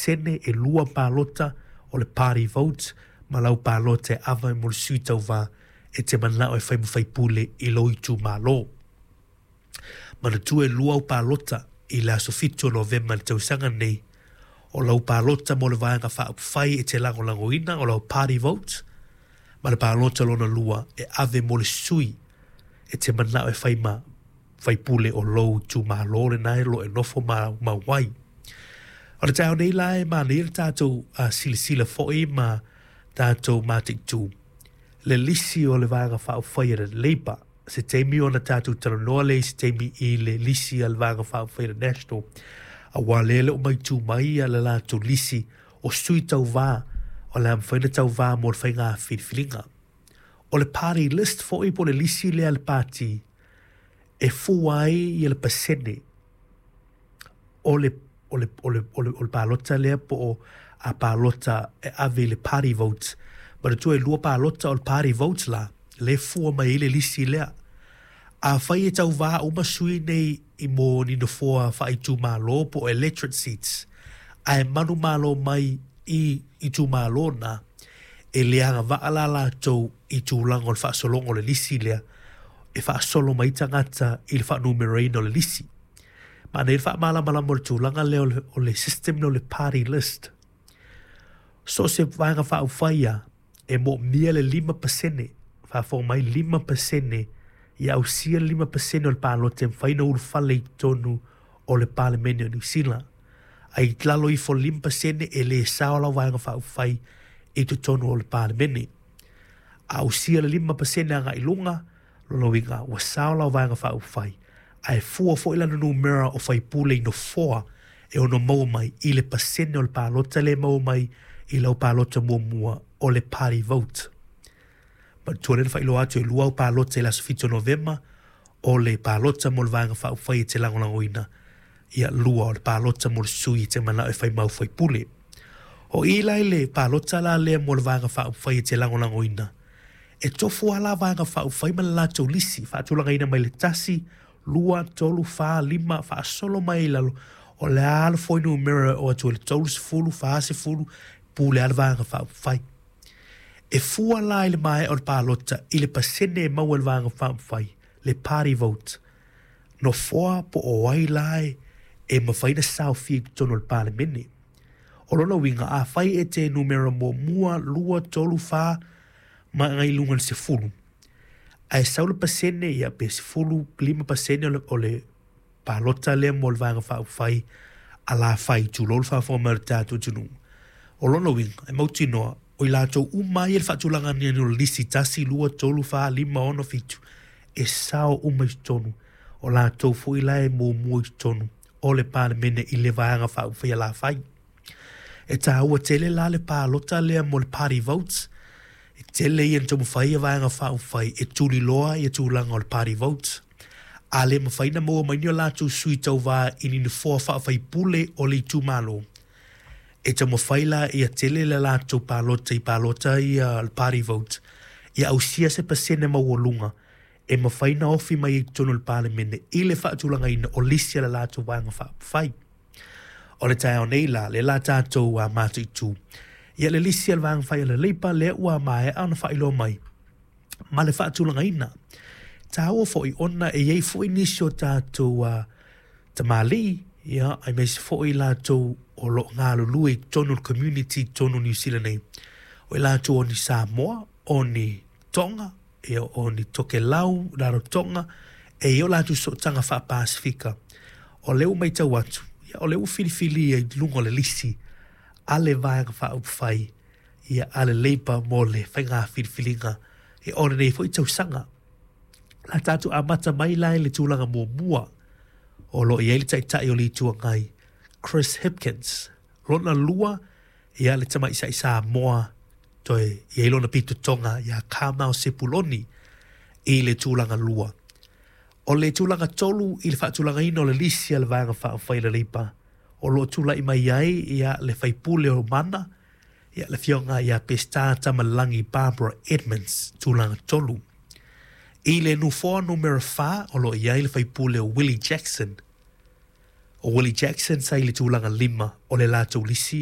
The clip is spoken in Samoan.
pasene, e 2 palota o le party vote ma lau palota e ava mo le sui tauvā e te manao e fai ma faipule i lou itumalo. Manatua e 2 au palota i le aso 7 o Novema i le tausaga nei, o lau palota mo le vaega faaupufai e te lagolagoina, o lau party vote, ma le palota lona lua e ave mo le sui e te manao e fai ma faipule o lou itumalo lena e lo e nofo ma ai. O le taeao nei la e manaia le tatou silasila foi ma tatou mataitu le lisi o le vaega faaupufai a le Labour. Se taimi ona tatou talanoa lea i se taimi i le lisi a le vaega faaupufai a le National, aua lea le o maitu mai le latou lisi o sui tauvā o le a mafai ona tauvā mo le faiga filifiliga. O le party list foi po o le lisi lea a le pati e fua ai ia le pasene o le o le o le o le, o le palota lea po o a palota e ave i le party vote. Manatua e 2 palota o le party vote la, le fua mai ai le lisi lea. A fai e tauvā uma sui nei i mo ni nofoa faaitumalo po o electorate seats, ae manumalo mai i itumalo na, e le agavaa la latou i tulaga o le faasologa o le lisi lea, e faasolo mai tagata i le faanumeraina o le lisi. Manaia le faamalamalama o le tulaga lea o le system lea o le party list. So o se vaega faaupufai a e moomia le 5%, faafofoga mai 5%, ia ausia le 5% o le palota e mafai ona ulufale i totonu o le Palemene o Niu Sila. Ai i lalo ifo o le 5% e le sao lau vaega faaupufai i totonu o le Palemene. A ausia le 5% agai i luga, lona uiga ua sao lau vaega faaupufai, ae fua foi lana numera o faipule i nofoa e ono maua mai i le pasene o le palota lea e maua mai i lau palota muamua o le party vote. Manatua lea na faailoa atu e 2 au palota i le aso 7 o Novema, o le palota mo le vaega faaupufai e te lagolagoina, ia 2 o le palota mo le sui e te manao e fai mau faipule. O i la i le palota la lea mo le vaega faaupufai e te lagolagoina, e tofu lava la vaega faaupufai ma le latou lisi, faatulagaina mai le 1, 2, 3, 4, 5, faasolo mai i lalo, o le a le fuainumera o atu i le 30, 40, pule lava le vaega faaupufai. E fua la i le maea o le palota i le pasene e maua e le vaega faaupufai, le party vote. Nofoa po o ai la e mafai ona saofia i totonu o le Palemene. O lona uiga, a fai e te numera muamua, 2, 3, 4, ma agai i luga i le 10, ae sau le pasene, ia pe 15% o le palota lea mo le vaega faaupufai a la fai, tulou le faafofoga mai o le tatou atunuu. O lona uiga, e mautinoa, o i latou uma ai le faatulaga o le lisi 1, 2, 3, 4, 5, 6, 7, e sao uma i totonu. O latou foi la e muamua i totonu o le Palemene i le vaega faaupufai a la fai. E tāua tele la le palota lea mo le party votes. E tele ia na taumafai ia vaega faaupufai e tuliloa ia tulaga o le party votes. A le mafai na maua mai ni o latou sui tauvā i ni nofoa faafaipule o le itumalo, e taumafai la ia tele le latou palota i palota ia le party vote, ia ausia se pasene maualuga e mafai na ofi mai i totonu o le Palemene i le faatulagaina o lisi a le latou vaega faaupufai. O le taeao nei la, le la tatou a mataitu, ia le lisi a le vaega fai a le Labour lea ua maea ona faailoa mai ma le faatulagaina. Tāua foi ona e iai foi nisi o tatou tamalii, ia, aemaise foi latou o lo o galulue i totonu o le community i totonu o Niu Sila nei. O i latou o ni Samoa, o ni Tonga, ia, o ni Tokelau, Rarotonga, e i ai o latou sootaga faapasifika. O lea ua matau atu, ia, o lea ua filifilia i luga o le lisi a le vaega faaupufai, ia, a le Labour mo le faiga filifiliga e o lenei foi tausaga. La tatou amata mai la i le tulaga muamua o lo o i ai le taitai o le Itu Agai, Chris Hipkins. Lona lua, ia le tamaisai Samoa toe i ai lona pitotoga ia Carmel Sepuloni i le tulaga lua. O le tulaga tolu i le faatulagaina o le lisi a le vaega faaupufai a le Labour, o lo o tulai mai ai ia le faipule o Mana, ia le afioga ia Peseta Tamalagi Barbara Edmonds, tulaga tolu. I le nofoa numera 4 o lo o i ai le faipule o Willie Jackson. O Willie Jackson sa i le tulaga 5 o le latou lisi.